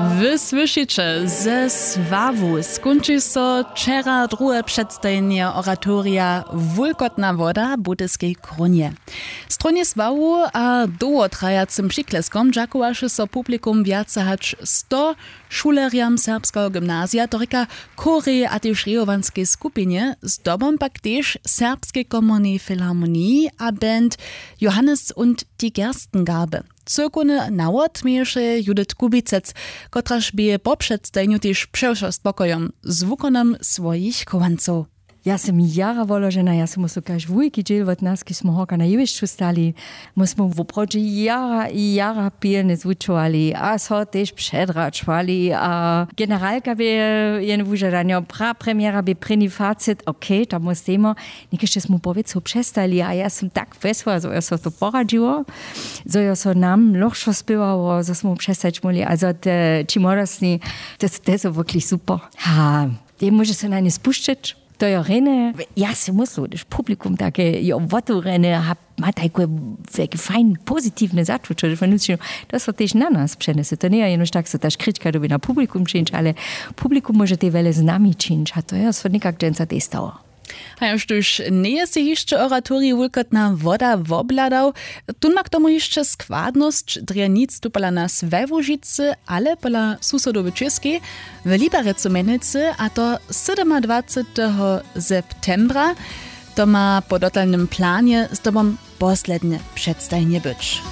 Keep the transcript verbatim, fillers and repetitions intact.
Wy słyšiće ze sławu skónči so wčera druhe předstajenje oratorija wulkotna woda w budyskej krónje. Stronje sławu a dołhotrajacym přikleskom dźakowaše so publikum wjace hač sto šulerjam serbskeho gymnazija, to rěka chórej a tež rejowanskej skupinje, zdobom pak tež serbskej komornej filharmoniji a band Johannes und die Gerstengarbe. Cyłkowny nawot měješe Judith Kubicec, kotraž bě po předstajenju tež přewšo spokojom z wukonom swojich chowancow. Ja sym jara woložena, ja sym so kaž wulki dźěl wot nas, kiž smy horka na jewišću stali. My smy woprawdźe jara i jara pilnje zwučowali a so tež předračowali a generalka bě jen wužadanjo, prapremjera bě prěni facit, okay, tam wostejmo. Někešće smy powěcow přestali a ja sym tak wjesła, zo jo so to poradźiło, zo jo so nam lochšo spěwało, zo smy přestać móhli a zo te ći młodostni, te te su wukli super. Ha, te móže se na nje spušćeć. To jo rjene, ja sej myslu hdyž publikum take jo wotewrjene a ma tajke wjelke fajn pozitiwne začuće, to so tež na nas přenjese, to njeje jenož tak so ta škrička dyrbi na publikum čińć, ale publikum móže te wjele z nami čińć a to jo so někak dźensa tež stało. A jož tuž njeje sej hišće oratorij wulkotna woda wobhladał, tón ma k tomu hišće składnosć drje nic tu pola nas we łužicy ale pola susodow w čěskej, w liberecu mjenujcy, a to sydomadwaceteho septembra. To ma po dotalnym planje zdobom poslednje předstajenje być.